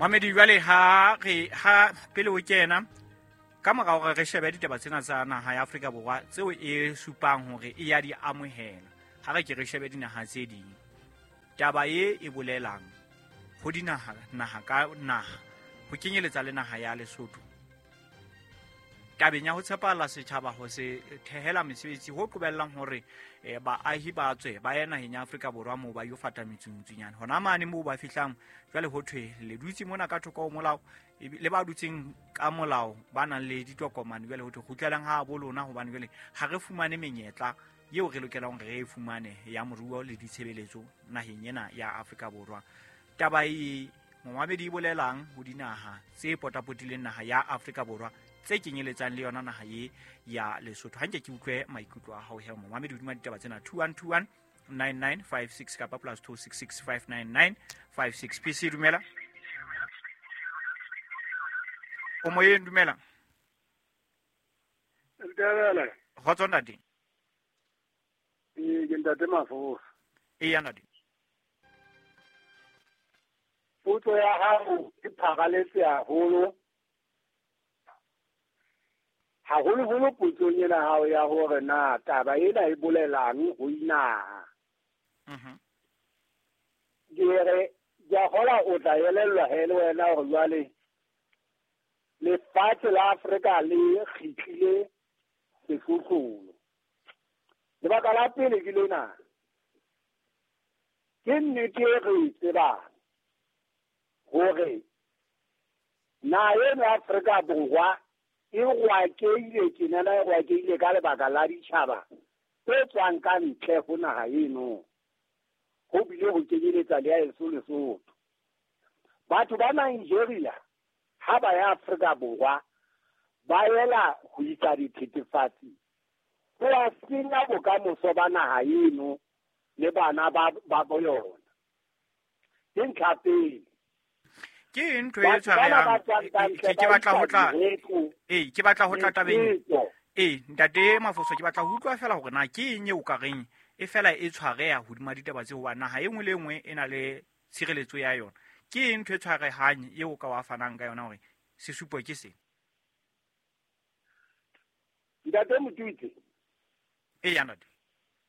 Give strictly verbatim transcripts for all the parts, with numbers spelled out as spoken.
Mamedi jwale ha re ha pele o kena ka mora hore re shebe ditaba tsena tsa naha ya Afrika Borwa tseo e supang hore e ya di amohela, ha re ke re shebe dinaha tse ding. Taba e e bolelang ho dinaha naha ka naha ho kenyeletsa le naha ya Lesotho. Tabeng ya ho tshepala setjhaba ho se thehela mesebetsi ho qobellang hore baahi ba tswe ba ye naheng ya Afrika Borwa moo ba yo fata metsungtsunyane. Hona mane moo ba fihlang jwale ho thwe le dutse mona ka thoko ho molao le ba dutseng ka molao ba nang le ditokomane jwale ho thwe kgutlelang ha bo lona hobane jwale ha re fumane menyetla eo re lokelang re e fumane ya moruo le ditshebeletso naheng ena ya Afrika Borwa. Taba e momamedi e bolelang ho dinaha tse potapotileng naha ya Afrika Borwa tse kenyeletsang le yona naha ye ya Lesotho. Ha nke ke utlwe maikutlo a hao he momamedi hodima ditaba tsena two one two one nine nine five six kapa plus two six six five nine nine five six. P C dumela. O moyeng dumela. Dumela. Kgotso ntate. Ee, ke ntate Mafosa. Eya ntate. Potso ya hao e pharaletse haholo. Haholoholo potsong ena hao ya hore na taba ena e bolelang ho inaha. Mhm. Ke re ke a kgolwa o tla elellwa he le wena hore jwale lefatshe la Afrika le kgitlile sehlohlolo. Lebaka la pele ke lena. Ke nnete e re e tsebang hore naha eno ya Afrika Borwa e rwakeile tjenana e rwakeile ka lebaka la ditjhaba tse tswang ka ntle ho naha eno. Ho bile ho kenyeletsa le ya heso Lesotho. Batho ba Nigeria ha ba ya Afrika Borwa ba ela ho isa dithethefatsi ho a senya bokamoso ba naha eno le bana ba ba bo yona. Ke ntlha pele. Ke ntho e tshwarehang ke ke batla ho tla ee ke batla ho tla tabeng ee ntate Mafoso ke batla ho utlwa fela hore na ke eng eo ka reng e fela e tshwareha hodima ditaba tse hoba naha e nngwe le nngwe e na le tshireletso ya yona. Ke eng ntho e tshwarehang eo ka wa fanang ka yona hore sesupo ke se? Ntate Motutsi. Eya ntate.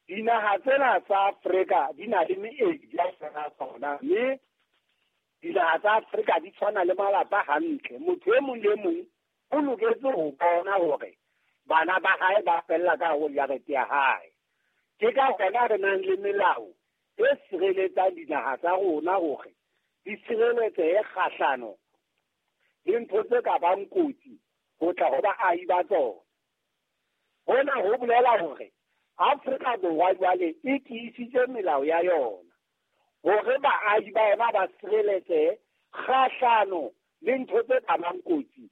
Dinaha tsena tsa Afrika di na le meedi ya tsona tsona mme dinaha tsa Afrika di tshwana le malapa hantle. Motho e mong le mong o loketse ho bona hore bana ba hae ba fella ka ho jarete ya hae. Ke ka hona re nang le melao e sireletsang dinaha tsa rona hore di sireletsehe kgahlano le ntho tse ka bang kotsi ho tla ho baahi ba tsona. Hona ho bolela hore Afrika Borwa jwale e tiisitse melao ya yona hore baahi ba yona ba sireletsehe kgahlano le ntho tse ka bang kotsi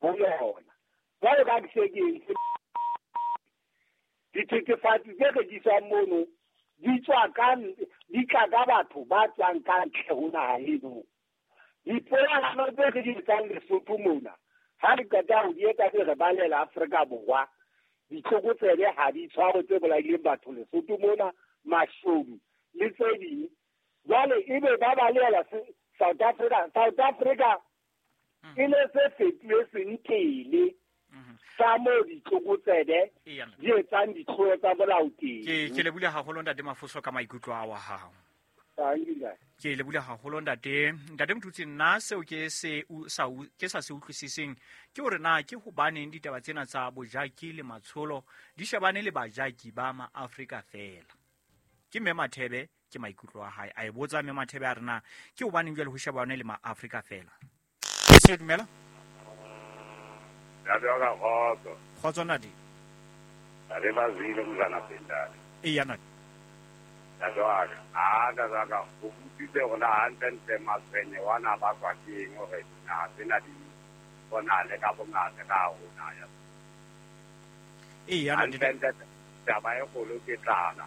ho yona. Jwale ka ke se ke entse dithethefatsi tse rekiswang mono di tswa ka di tla ka batho ba tswang ka ntle ho naha eno. Dipoelano tse re di etsang Lesotho mona ha re qeta ho di etsa re balela Afrika Borwa, ditlokotsebe ha di tshwarwe tse bolaileng batho Lesotho mona, mashodu le tse ding. Jwale ebe ba balela South Africa, South Africa e ne se fetohe sentele sa moo ditlokotsebe di etsang ditlolo tsa molao teng. Ke ke lebohile haholo ntate Mafoso ka maikutlo a wa hao. Ke lebohile haholo ntate. Ntate Motutsi, nna seo ke se sa ke sa se utlwisiseng ke hore na ke hobaneng ditaba tsena tsa bojaki le matsholo di shebane le bajaki ba ma-Afrika fela. Ke mme Mathebe ke maikutlo a hae. A e botsa mme Mathebe a re na ke hobaneng jwale ho shebane le ma-Afrika fela. Ke se dumela? Ya ka kgotso. Kgotso ntate. Re ba zwile mzana pendane. Eya ntate. Ya ka a ka ka ka o utlwile hore na hantlentle matshwenye wana ba kwa ke eng hore na tsena di bona le ka bongata ka rona ya. Eya ntate. Taba e kgolo ke tlala.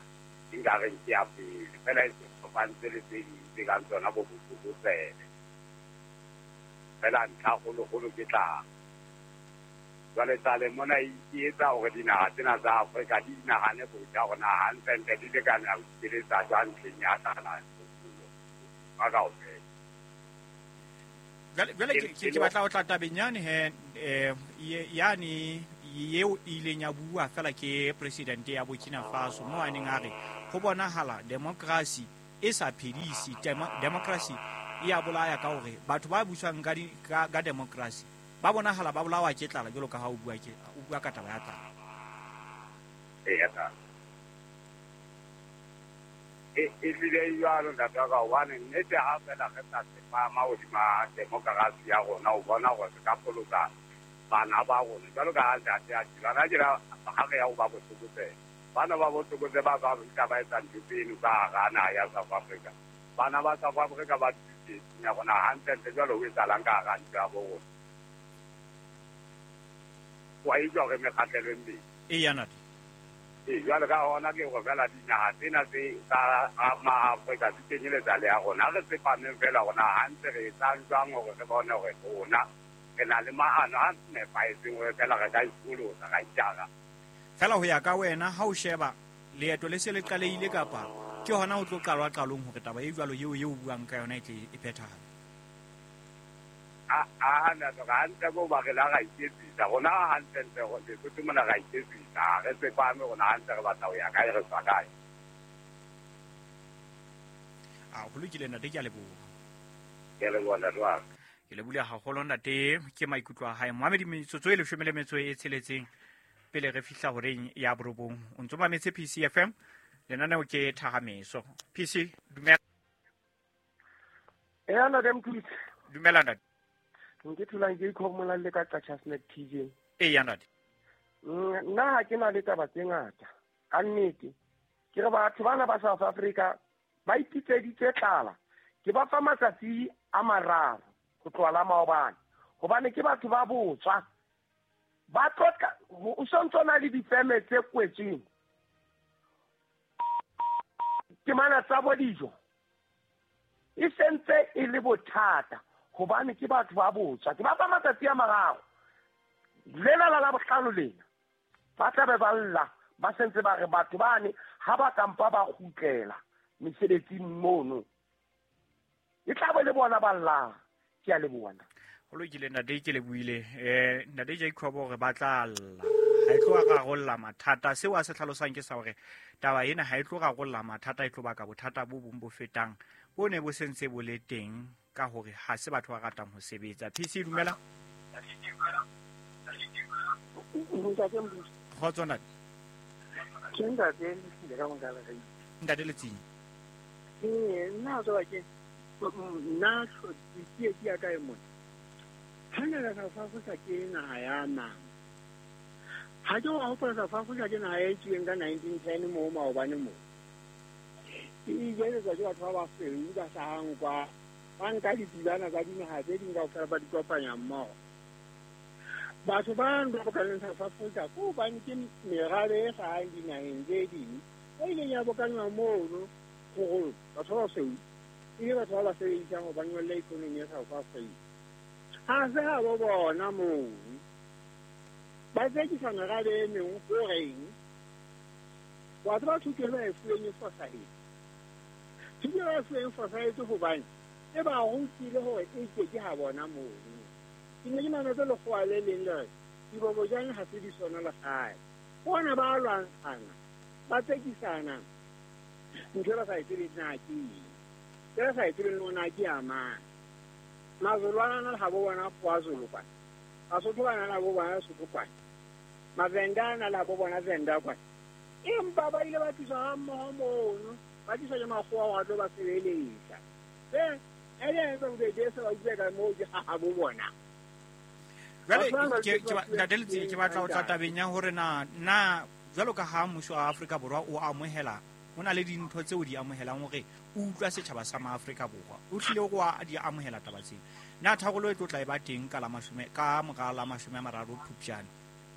Nka reng ke ya pele fela e kopantse le tse ding tse kang tsona bo botlokotsebe. Fela ntlha kgolokgolo ke tlala. Jwale tlale mona e etsa hore dinaha tsena tsa Afrika di nahane botjha hore na hantlentle di lekana ho itshireletsa jwang ntlheng ya tlala ba kaofela. Jwale ke batla ho tla tabeng yane he eh yani yeo e ileng ya bua fela ke president ya Burkina Faso mo a neng a re ho bonahala democracy e sa phedise, democracy e ya bolaya ka hore batho ba buswang ka ka, ka democracy ba bonahala ba bolawa ke tlala jwalo ka ha o bua ke o bua ka taba ya tlala. E ya tlala. E e tlile jwalo ntate wa ka hobane nnete ha fela re sa tsepama hodima democracy ya rona o bona hore re ka pholosa bana ba rona jwalo ka ha ntate a tjela na jela ha re ya ho ba botlokotsebe. Bana ba botlokotsebe ba ba Afrika ba etsa ntho tseno ka hara naha ya South Africa. Bana ba South Africa ba tsietsing ya rona hantlentle jwalo ho etsahalang ka hara ntlo ya bo rona. Wa utlwa hore mekgahlelo e mmedi. Eya ntate. Ee, jwale ka hona ke hore fela dinaha tsena tse tsa Ma-Afrika di kenyeletsa le ya rona. Ha re tsepameng fela rona hantle re etsang jwang hore re bone hore rona re na le maano a nepahetseng hore fela re ka ipolosa ra itjara. Fela ho ya ka wena ha o sheba leeto le se le qalehile kapa ke hona ho tlo qalwa qalong hore taba e jwalo eo eo o buang ka yona e tle e phethahale? A a na re hantle ko ba re la ra iketsisa rona hantlentle Lesotho mona ra iketsisa re tsepame rona hantle re batla ho ya kae re tswa kae. A ho lokile ntate, ke a leboha. Ke a leboha ntate wa ka. Ke lebohile haholo ntate, ke maikutlo a hae. Mohamedi metsotso e leshome le metso e tsheletseng pele re fihla horeng ya borobong. O ntso mametse P C F M, lenaneo ke Thahameso. P C, dumela. Eya ntate Mthutsi. Dumela ntate. Nke tholang ke ikhomola le ka Qacha's T J. Eya ntate. Nna ha ke na le taba tse ngata. Ka nnete ke re batho bana ba South Africa ba ipitseditse tlala. Ke ba fa matsatsi a mararo ho tloha la maobane. Hobane ke batho ba botswa. Ba tlotla o sontso na le difeme tse kwetsweng. Ke mana tsa bo dijo. E sentse e le bothata hobane ke batho ba botswa. Ke ba fa matsatsi a mararo. Lena la la bohlano lena. Ba tla be ba lla ba sentse ba re batho bane ha ba kampa ba kgutlela mesebetsing mono. E tla be le bona ba lla. Ke a leboha. Ho lokile ntate, ke lebohile. Eh ntate Jacob hore ba tla lla. Ha e tlo rarolla mathata. Seo a se hlalosang ke sa hore taba ena ha e tlo rarolla mathata, e tlo baka bothata bo bong bo fetang bo ne bo sentse bo le teng ka hore ha se batho ba ratang ho sebetsa. P C dumela. Ntate Mbusi. Kgotso ntate. Ke ntate le ka mongala re. Ntate Letsinyi. Eh nna tswa ke nna ke ke ya kae mona. Hangata South Africa ke naha ya nama. Ha ke wa hopola South Africa ke naha e tswileng ka nineteen ten moo maobane moo. E ijeletswa ke batho ba basweu ba hlahang kwa. Ba nka ditulwana tsa dinaha tse ding kaofela ba di kopanya mmoho. Batho ba ba bokaneng South Africa ke hobane ke merabe e hlahang dinaheng tse ding e ileng ya bokanywa mono hore batho ba basweu e le batho ba ba sebedisang ho ba nyolla economy ya South Africa. Ha se ha bo bona moo ba tsekisa merabe e meng horeng batho ba thuto ba e fuweng e fosahetse. Thuto ba e fuweng e fosahetse hobane e ba rutile hore e ke ke ha bona moo. Ke ne ke mametse lekgowa le leng le re dibobojane ha se di sona lehae. Bona ba lwantshana ba tsekisana ntho e ba sa e tsebeng na ke eng, e ba sa e tsebeng le hore na ke ya mang. Mazulu a na le habo bona KwaZulu kwana, Basotho ba na le habo bona Sotho kwana, Mavenda a na le habo bona Venda kwana. Empa ba ile ba tliswa ha mmoho mono, ba tliswa ke makgowa hore a tlo ba sebeletsa. Eh, e le etsa bobedi se ba utlwe ka moo ke habo bona. Jwale ke ntate Letsinyi ke batla ho tla tabeng ya hore na na jwalo ka ha mmuso wa Afrika Borwa o amohela ho na le dintho tseo di amohelang hore o utlwa setjhaba sa maAfrika Borwa o hlile o wa di amohela taba tsena. Na tharollo e tlo tla e ba teng ka la mashome ka mora la mashome a mararo Phupjane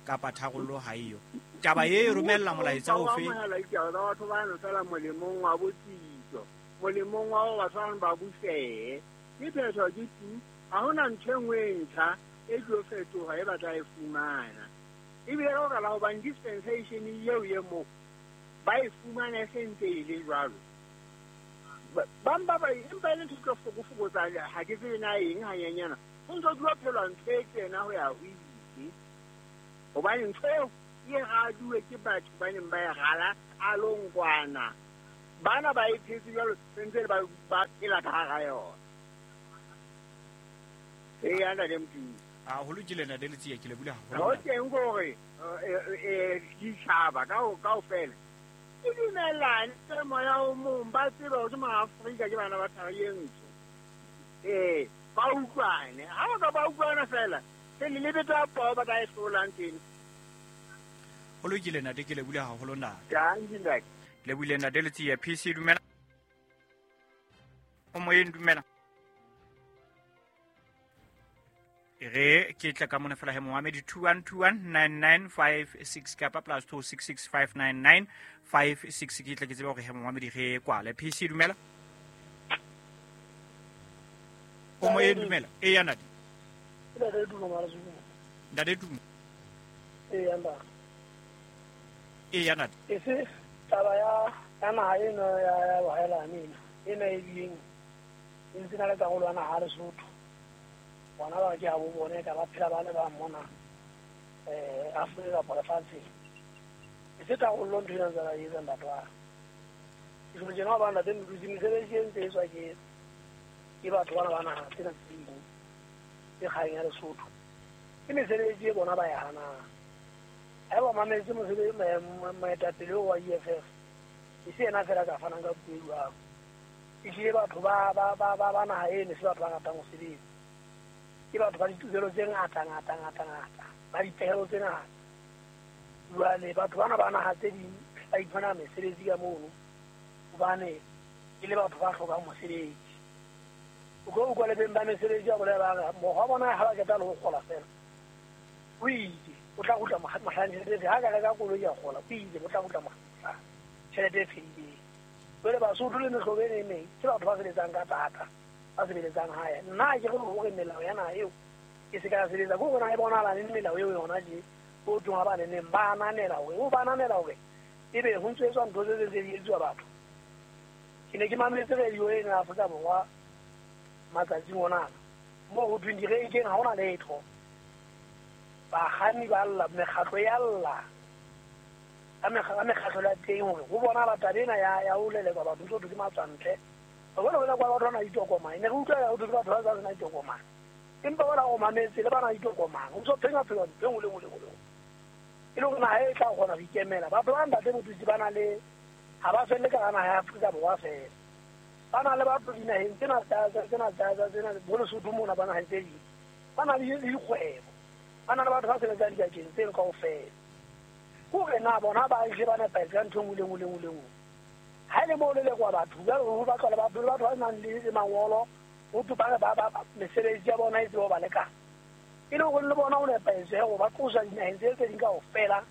kapa tharollo ha eyo? Taba e romella molaetsa ofe? Amohela ditaba tsa batho bano fela molemong wa botsitso, molemong wa hore batho bano ba busehe. Ke phetho ke tu, ha hona ntho e nngwe e ntjha e tlo fetoha e batla e fumana. Ebile ka baka la hobane dispensation eo e moo ba e fumana e sentse e le jwalo. Ba ba empa e le ntho tlo fokofokotsa ha ke tsebe na eng hanyenyana. Ho ntso dula phela ntho e tjena ho ya ho ile. Hobane ntho eo e raduwe ke batho ba neng ba e rala qalong kwana. Bana ba e phetse jwalo sentse ba ba phela ka hara yona. E ya ntate Mothusi. A ho lokile ntate Letsie, ke lebohile haholo. Ho teng hore eh ditjhaba ka kaofela ke dumellane ke moya o mong ba tsebe hore ke maAfrika ke bana ba thari e ntsho. Eh ba utlwane. Ha ba ka ba utlwana fela ke le lebetsa poo ba ka e hlolang teng. Ho lokile ntate, ke lebohile haholo ntate. Dankie ntate. Lebohile ntate Letsie. P C dumela. O moyeng dumela. Re ke tla ka mona fela he Mohammed two one two one nine nine five six kapa plus two six six five nine nine five six ke tla ke tseba hore he Mohammed re kwale. P C dumela. O moyeng dumela. E ya ntate. Ntate Duma mara Zuma. Ntate Duma. E ya ntate. E ya ntate. E se taba ya ya naha ena ya ya bohaelane ena. Ena e bileng e ntse na le karolo ya naha Lesotho. Bona ba ke ha bo bone ka ba phela ba le ba mona eh Afrika kapa lefatsheng. E se karolo ntho ena tsa e etsang batho ba. Ke so tjena ba ntate Mothusi mesebetsi e ntse e tswa ke ke batho bana ba naha tsena tse ding tse kgang ya Lesotho. Ke mesebetsi e bona ba e hanang. Ha ba mametse mosebetsi moetapele wa E F F e se yena fela ka fanang ka puo e jwalo. Ehlile batho ba ba ba ba ba naha eno se batho ba ratang ho sebetsa. Ke batho ba ditokelo tse ngata ngata ngata ngata ba dipehelo tse ngata. Jwale batho bana ba naha tse ding ba iphumana mesebetsi ka mono hobane e le batho ba hlokang mosebetsi. O ko utlwa le beng ba mesebetsi ba bolela ba re mokgwa bona ha ba qeta le ho kgola fela o itse o tla kgutla mohlang tjhelete ha ka reka koloi ya kgola o itse o tla kgutla mohlang tjhelete e fedileng. Jwale Basotho le mehlobo e meng ke batho ba sebetsang ka thata ba sebeletsang hae. Nna ke re hore melao ya naha eo e se ka sebetsa ke hore na e bonahala neng melao eo yona tje ho thweng ha ba neneng ba ananela hore o ba ananela hore ebe ho ntso etswa ntho tse tse di etsuwa batho. Ke ne ke mametse radio ena ya Afrika Borwa matsatsing ona moo ho thweng direnkeng ha hona letho. Bakganni ba lla, mekgatlo ya lla ka mekgatlo ya teng hore ho bonahala taba ena ya ya ho lelekwa batho ntso thwe ke matswantle. Ba bona bona kwa batho ba na ditokomane ne re utlwa ho thwe ke batho ba sa sena ditokomane empa bona o mametse le ba na ditokomane ho ntso phenya phela ntho e nngwe le nngwe le nngwe e le hore naha e tla kgona ho ikemela. Batho ba ntate Mothusi ba na le ha ba felle ka naha ya Afrika Borwa fela. Ba na le batho dinaheng tsena tsa tsena tsa tsena bo Lesotho mona ba naheng tse ding ba na le dikgwebo ba na le batho ba sebetsang dibakeng tseno kaofela. Ke hore na bona ba hle ba nepahetse ka ntho e nngwe le nngwe le nngwe le nngwe. Ha e le moo lelekwa batho jwale ho batlwa le batho le batho ba nang le mangolo ho thwe ba re ba ba mesebetsi ya bona e tsebe ho ba lekana. E le hore le bona ho nepahetse hore ba tloswa dinaheng tse tse ding kaofela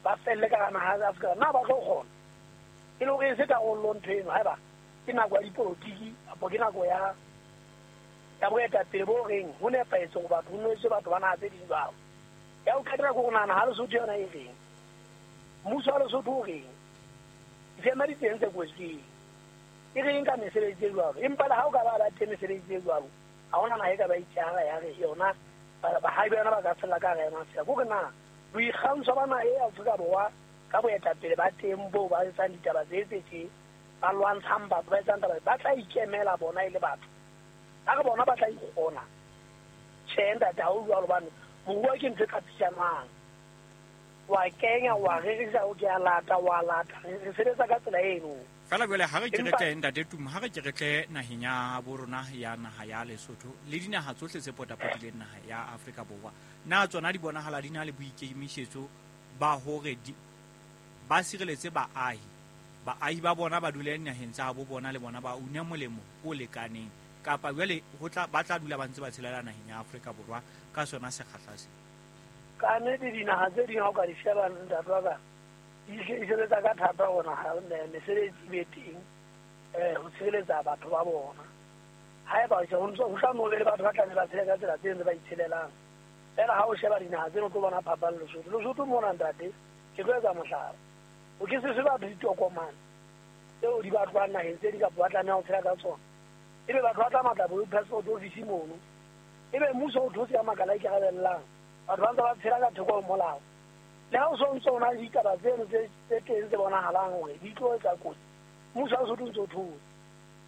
ba felle ka hara naha ya Afrika. Na ba tlo kgona? E le hore e se karolo ntho eno haeba ke nako ya dipolotiki kapa ke nako ya ya boetapele bo reng ho nepahetse hore batho ho nwetswe batho ba naha tse ding jwalo. Ya ho qetela ke hore nahana ha Lesotho yona e reng? Mmuso wa Lesotho o reng? Difema di teng tse kwetsweng e reng ka mesebetsi e jwalo? Empa le ha o ka ba ba teng mesebetsi e jwalo ha hona naha e ka ba itjara ya re yona bahahi ba yona ba ka fella ka hara yona fela. Ke hore na boikgantsho ba naha e Afrika Borwa ka boetapele ba teng boo ba etsang ditaba tse tse tje ba lwantshang batho ba etsang taba ba tla ikemela bona e le batho. Ka re bona ba tla ikgona. Tjhe ntate ha o jwalo hobane moruo ke ntho e qapitjanwang. Wa kenya wa rerisa o ke a lata wa lata re sebetsa ka tsela eno. Fela jwale ha re ke re tle ntate Tumo, ha re ke re tle naheng ya bo rona ya naha ya Lesotho le dinaha tsohle tse potapotileng naha ya Afrika Borwa, na tsona di bonahala di na le boikemisetso ba hore ba sireletse baahi baahi ba bona ba dule naheng tsa bo bona le bona ba une molemo o lekaneng, kapa jwale ho tla ba tla dula ba ntse ba tshelela naheng ya Afrika Borwa ka sona sekgahla se? Ka nnete dinaha tse ding ha o ka di sheba ntate wa ka di sebetsa ka thata hore naha mesebetsi e be teng eh ho tshireletsa batho ba bona. Haeba ho ntso ho tla no be le batho ba tla ne ba tshele ka tsela tse ntse ba itshelelang. Fela ha o sheba dinaha tseno o tlo bona phapang Lesotho. Lesotho mona ntate ke tlo etsa mohlala. O ke se se batho ditokomane. Tseo di batlwang naheng tse di kapa ba tlameha ho tshela ka tsona. Ebe batho ba tla matla bo passport office mono. Ebe mmuso o thotse ya makala a ikarabellang. Batho ba ntse ba tshela ka theko ho molao. Le ha o so ntso o na le ditaba tseno tse tse teng tse bonahalang hore di tlo etsa kotsi. Mmuso ha o so ntso o thotse.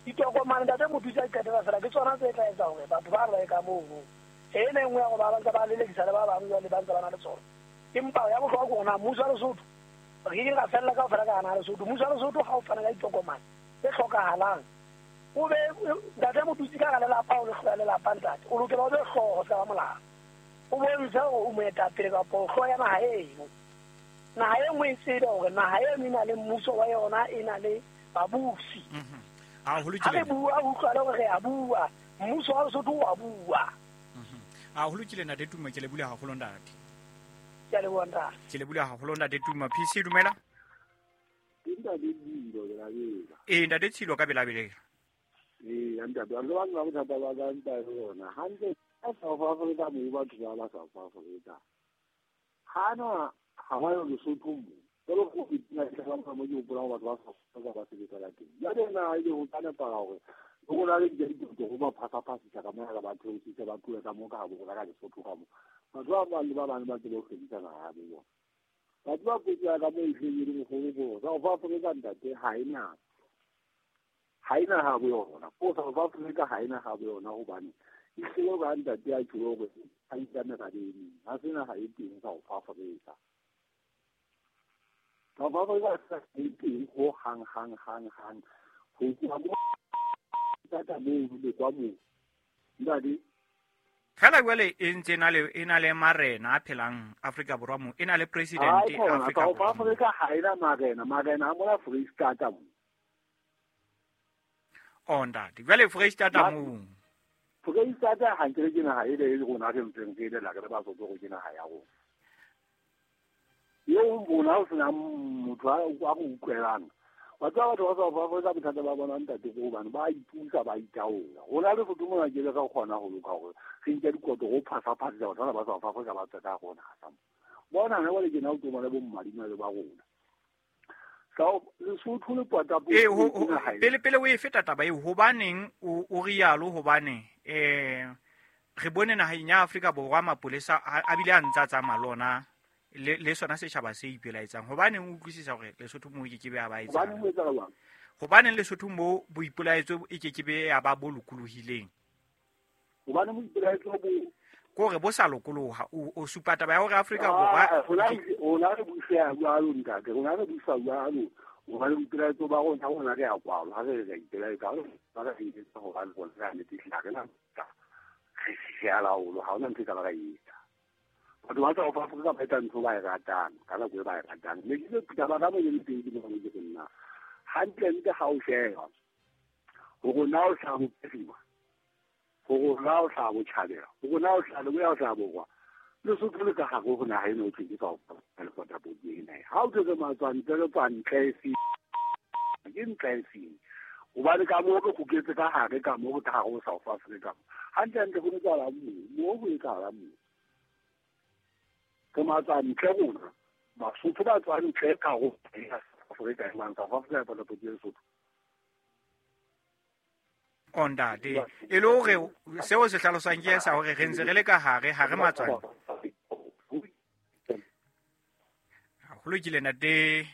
Ditokomane ntate Motutsi a qetela fela ke tsona tse tla etsa hore batho ba re ka mono. Ena e nngwe ya go ba ntse ba lelekisa le ba bangwe jwale ba ntse ba na le tsona. Empa ya bohlokwa ke hore na mmuso wa Lesotho re ke ra fella kaofela ka hana Lesotho. Mmuso wa Lesotho ha o fana ka ditokomane tse hlokahalang o be ntate Motutsi ka hara lelapa o le hloya lelapa ntate o lokela o be hlooho sa molao. O bontshe hore o moetapele kapa o hlooho ya naha eno. Naha e nngwe e tsebe hore naha eno e na le mmuso wa yona e na le babusi. Ha ho Ha re bua o utlwale hore re a bua. Mmuso wa Lesotho o a bua. Ha ho lokile ntate Tuma, ke le bula haholo ntate. Ke a leboha ntate. Ke le bula haholo ntate Tuma. P C dumela. Ntate Tshilo ke la bela. Eh ntate Tshilo ka bela bela. Eh ntate ba ba ba bothata ba ka ntate rona. Hantle ka South Africa mo batho ba ba South Africa. Hana ha ba yo Lesotho mo. Jalo go itina ke ba mo ke hopola batho ba South Africa ba sebetsa ka teng. Ya tena e le ho tana para hore go na le ditoto go ba phasa-phasisa ka mona ba theositse ba tlohe ka mo ka bo ka Lesotho ka mo. Batho ba bang le ba bang ba tsebe ho hlwekisa naha ya bo bona. Batho ba potso ya ka mo e hleng e le mogolo South Africa ntate ha e na ha e na ha bo yona. Ko South Africa ha e na ha bo yona hobane e hlile ba ntate a tjho hore ha e ka merabe e meng. Ha se naha e teng South Africa. South Africa ha e teng ho hang hang hang hang. Ho tloha mo tata moo le kwa moo. Ntate fela jwale e ntse na le e na le marena a phelang Afrika Borwa mo e na le president Afrika South Africa ha ena marena marena a mola Free State mo. Oh ntate jwale Free State mo. Free State ha nkere ke naha e le rona re ntseng re le la re ba tsotso go ke naha ya rona. Eo bona o sena motho a go utlwelang. Batho ba batho ba South Africa bothata ba bona ntate ko hobane ba ipusa ba itaola. Rona le Lesotho mona ke le ka kgona ho loka hore re nke dikoto go phasa-phasisa batho bana ba South Africa ba tswe ka rona sa mo. Bona hona jwale ke na o tsomana bo mmadima le ba rona. South Lesotho le pota Eh ho pele pele o e feta taba eo hobaneng o o rialo hobane eh re bone naheng ya Afrika Borwa mapolesa a bile a ntsa tsamaya lona le le sona setjhaba se ipelaetsang. Hobaneng o utlwisisa hore Lesotho mo e ke be ya ba etsang? Hobaneng o etsa jwang? Hobaneng Lesotho mo boipelaetso e ke ke be ya ba bo lokolohileng? Hobaneng boipelaetso bo kore bo sa lokoloha o o supa taba ya hore Afrika Borwa rona rona re busa jwalo ntate rona re busa jwalo hobane boipelaetso ba rona rona re a kwalwa ha re re ipelaetsa ha re re etsa hobane rona re a netefisa re na re a laolwa ha hona ntho e ka ba ka etsa. Batho ba South Africa ba etsa ntho ba e ratang ka nako e ba e ratang. Mme ke taba ka mo e leng teng ke mo ke nna hantlentle ha o sheba hore na o hlaha bophirima hore na o hlaha botjhabela hore na o hlaha leboya o hlaha borwa Lesotho le ka hare ho naha ena ho thweng ke South Africa le potapoti ena. Ha o thwe matswantle le tswantle e seng ke ntle e seng hobane ka moo re kguketse ka hare ka moo re ka hare ho South Africa hantlentle ho etsahala moo moo ho etsahala moo. Ke matswantle rona Basotho ba tswang ntle ka ho Afrika e mang South Africa e potapoti ya Lesotho. O ntate e le hore seo se hlalosang ke sa hore re ntse re le ka hare ha re matswantle. Ho lokile ntate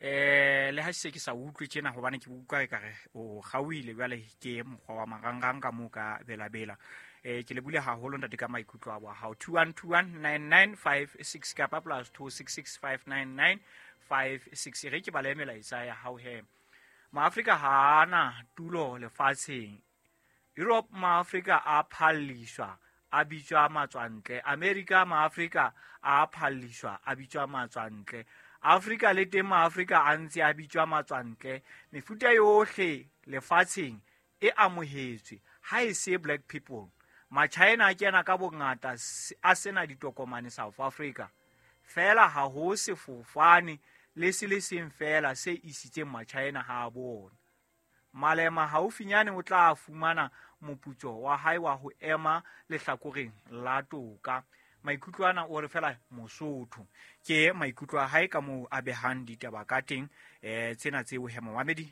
eh le ha se ke sa utlwe tjena hobane ke utlwa ekare o kgaohile jwale ke mokgwa wa marangrang ka moo ka belabela. Eh ke le bule haholo ntate ka maikutlo a bo hao two one two one nine nine five six kapa plus two six six five nine nine five six re ke bale melaetsa ya hao he. Maafrika ha ana tulo lefatsheng. Europe Maafrika a phalliswa a bitswa matswantle. America Maafrika a phalliswa a bitswa matswantle. Afrika le teng Maafrika a ntse a bitswa matswantle. Mefuta yohle lefatsheng e amohetswe ha e se black people. Machina a kena ka bongata a sena ditokomane South Africa. Fela ha ho sefofane le se le seng fela se isitseng Machina ha bona. Malema haufinyane o tla fumana moputso wa hae wa ho ema lehlakoreng la toka. Maikutlo ana o re fela Mosotho ke maikutlo a hae ka moo a behang ditaba ka teng. Eh tsena tseo he momamedi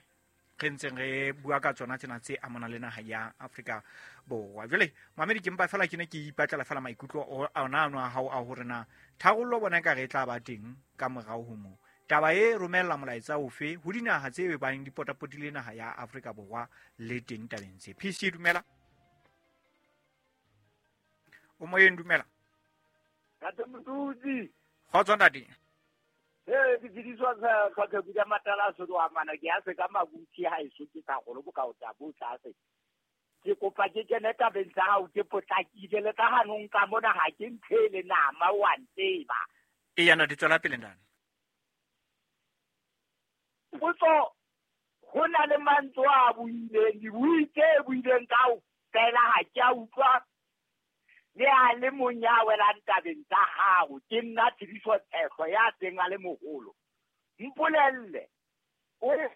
Re ntseng re bua ka tsona tsena tse amanang le naha ya Afrika Borwa. Jwale mamedi ke mpa fela ke ne ke ipatlela fela maikutlo ona ano a hao a hore na tharollo bona ka re tla ba teng ka morao ho moo. Taba e romella molaetsa ofe ho dinaha tse bang di potapotile naha ya Afrika Borwa le teng tabeng tse. P C dumela. O moyeng dumela. Ntate Motutsi. Kgotso ntate. Eh ke tsidiswa ka ka ka matala so do amana ke a se ka mabuti ha eso ke ka golo bo ka o tla bo tlase. Ke kopa ke kene tabeng tsa hao ke potlakile le ka hanong ka mona ha ke nthele nama wa ntseba. E yana di tswela pele ntate. Potso ho na le mantswe a buileng dibui tse buileng ka o fela ha ke a utlwa le a le mong ya welang tabeng tsa hao. Ke nna Tshidiso Tshehlo ya teng a le moholo. Mpolelle o re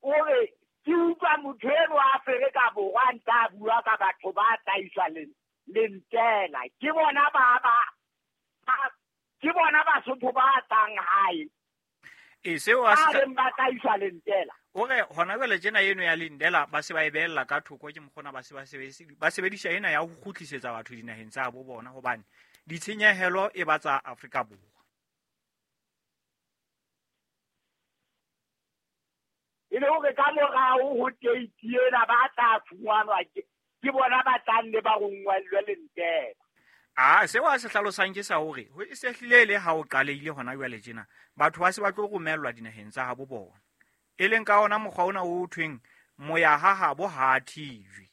o re ke utlwa motho eno a Afrika Borwa a ntse a bua ka batho ba tlaiswa lentela. Ke bona ba ba ke bona Basotho ba tlang hae. E seo a se ba tlaiswa lentela. O re hona jwale tjena eno ya lindela ba se ba e beella ka thoko ke mokgona ba se ba sebedisa ba sebedisa ena ya ho kgutlisetsa batho dinaheng tsa bo bona hobane ditshenyehelo e ba tsa Afrika Borwa. E le hore ka morao ho date ena ba tla fumanwa ke bona ba tlang le ba rongwellwe lentela. Ah, seo a se hlalosang ke sa hore ho e sehlile le ha o qalehile hona jwale tjena batho ba se ba tlo romellwa dinaheng tsa habo bona. E leng ka ona mokgwa ona o thweng moya ha habo ha thijwe.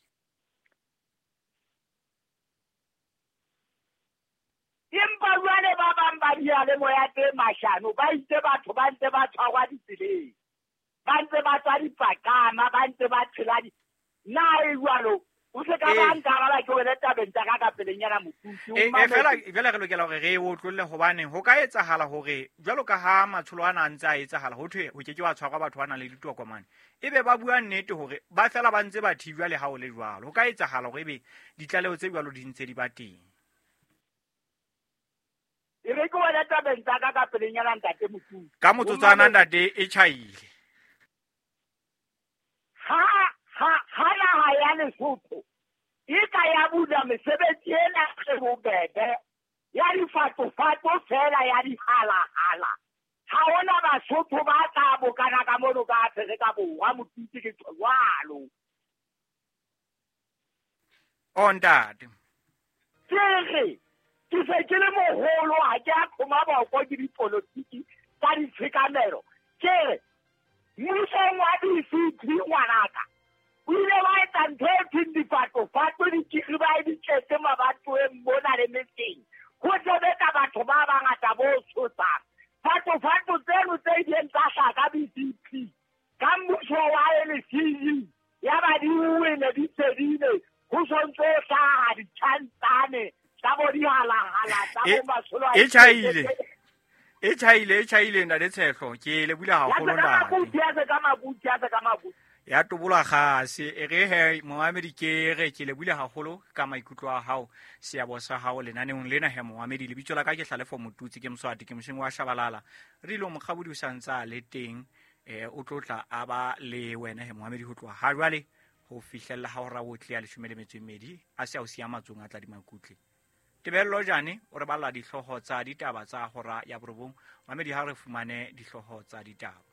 Empa jwale ba bang ba diyalemoya tse mashano ba itse batho ba ntse ba tshwarwa ditseleng, ba ntse ba tswa dipakama, ba ntse ba tshela di na e jwalo. O se ka ba nkaraba ke wena tabeng tsa ka ka pelenyana Motutsi. E fela jwale re lokela hore re o tlolle hobane ho ka etsahala hore jwalo ka ha matsholo ana a ntse a etsahala ho thwe ho ke ke wa tshwarwa batho ba nang le ditokomane. Ebe ba bua nnete hore ba fela ba ntse ba thibjwa le ha o le jwalo. Ho ka etsahala hore ebe ditlaleho tse jwalo di ntse di ba teng. E re ke wena tabeng tsa ka ka pelenyana ntate Motutsi. Ka motsotswana ntate e tjhaile. Ha ha ha naha ya Lesotho e ka ya bula mesebetsi ena e bobebe ya difatofato fela ya dihalahala, ha hona Basotho ba tla bokana ka mono ka Afrika Borwa. Motutsi ke jwalo. O ntate. Ke re ke se ke le moholo ha ke a qhoma boko ke dipolotiki tsa ditshekamelo. Ke re mmusong wa D C P ngwanaka o ile wa etsa ntho e thweng difatofato dikiri ba e di tletse mabatoweng mona le metseng. Ho sebetsa batho ba bangata bo tshosang. Fatofato tseno tse ileng tsa hlaha ka B C P ka mmuso wa L C U ya ba di wele di fedile ho sontso hlaha ditjhantane tsa bo dihalahala tsa bo matsholo a E tjhaile. E tjhaile e tjhaile ntate Tshehlo ke le bula haholo ntate. Ka mabuti a se ka mabuti. Ya tobola kgase e re he moamedi ke re ke le bule haholo ka maikutlo a hao seabo sa hao lenaneong lena he moamedi lebitso la ka ke Hlalefo Motutsi ke Moswati ke mosheng wa Shabalala re ile mokgabodi o santsa le teng eh o tlotla a ba le wena he moamedi ho tloha ha jwale ho fihlella ha hora o tle ya leshome le metso e mmedi a se a o siya matsong a tla di makutle. Tebello Jane o re balla dihlooho tsa ditaba tsa hora ya borobong moamedi ha re fumane dihlooho tsa ditaba.